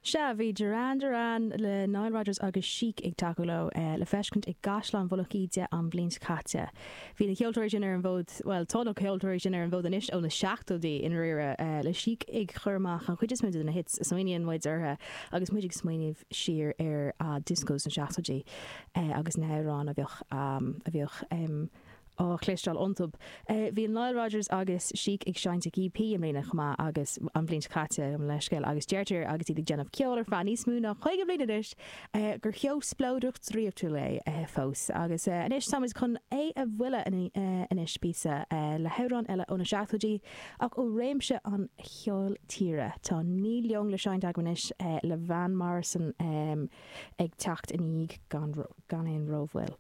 Sea, bhí Duran Duran le Nile Rodgers agus Chic ag tacú leo le feiscint i gCaisleán Mhullach Íde an bhliain seo caite. Bhí na ceoltóirí sin ar an bhfód, bhuel, tá na ceoltóirí sin ar an bhfód anois ó na seachtóidí i ndáiríre, le Chic ag cur amach an chuid is mó de na hits a smaoiníonn muid orthu agus muid ag smaoineamh siar ar disco sna seachtóidí agus na hamhráin a bheadh a bheadh á chloisteáil iontu. Bhí Nile Rodgers agus Chic ag seinnt ag EP i mbliana chomh maith agus an bhliain seo caite, gabh mo leithscéal, agus deirtear agus iad ag déanamh ceoil ar feadh níos mó ná 50 bliain anois gur seó spleodrach draíochtúil é fós. Agus anois táimid chun é a bhualadh anois píosa le hamhrán eile ó na seachtóidí ach ó réimse an cheoil tíre. Tá Neil Young le seinnt agam anois le Van Morrison ag teacht ina dhiaidh gan aon rómhoill.